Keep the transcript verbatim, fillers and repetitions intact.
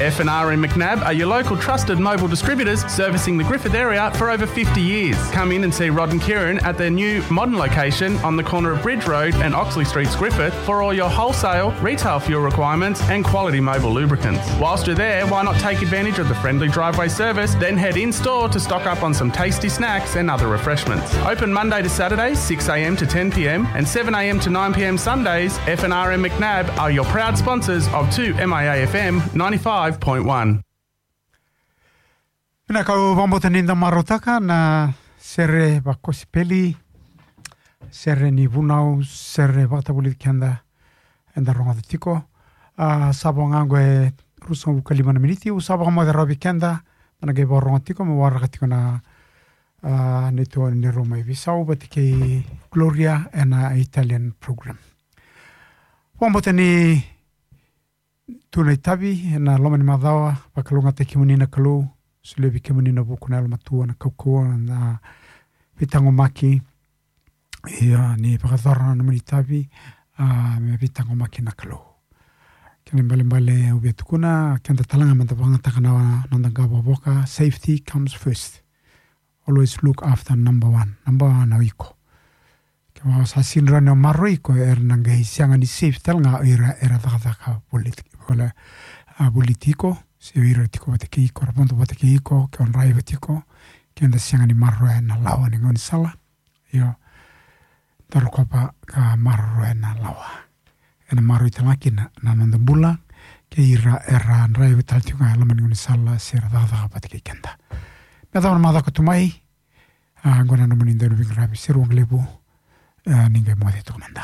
F and R M McNab are your local trusted Mobil distributors, servicing the Griffith area for over fifty years. Come in and see Rod and Kieran at their new modern location on the corner of Bridge Road and Oxley Streets, Griffith, for all your wholesale, retail fuel requirements and quality Mobil lubricants. Whilst you're there, why not take advantage of the friendly driveway service, then head in-store to stock up on some tasty snacks and other refreshments. Open Monday to Saturday, six a.m. to ten p.m., and seven a.m. to nine p.m. Sundays. F and R M McNab are your proud sponsors of two M I A F M ninety-five point one. Vinaka, au vakabauta ni da marautaka na sere vakosipeli, sere ni vunau, sere vakatavulici keda, eda rogoca tiko. A, sa vo ga oqo e ruasagavulu ka lima na miniti, au sa vakamoce rawa vei keda, da na qai vakarorogo tiko, me waraka tiko na, a, neitou ni Roma e veisau vata kei Gloria ena Italian program. Vakabauta ni tu na itavi ena loma ni macawa, vakalougatataki kemuni na Kalou, solia vei kemuni na vuku, na yalomatua, na kaukauwa, na veitaqomaki. Ia, ni vakayacora na nomuni itavi, a, me veitaqomaki na Kalou. Kena ibalebale au via tukuna, keda tale ga meda vakayagataka na noda qavokavoka, safety comes first. Always look after number one. Number one o iko. Kevaka sa sega ni rawa ni o maroroi iko, era na qai sega ni safe tale ga o ira era cakacaka voliti, vole-, a, voliti iko, se o ira tiko vata kei iko, ra vodo vata kei iko, ke o draiva tiko, ke da sega ni maroroya na lawa ni gaunisala. Io, da rokova ka maroroya na lawa. Ena maroroi tale ga kina na noda bula, kei ira era draiva tale tiko ga e loma ni gaunisala se ra cakacaka vata kei keda. Me yacova na macawa ka tu mai, a, oqo na nomuni dau ni veiqaravi, Seru Waqalevu, a, ni qai moce toka mada.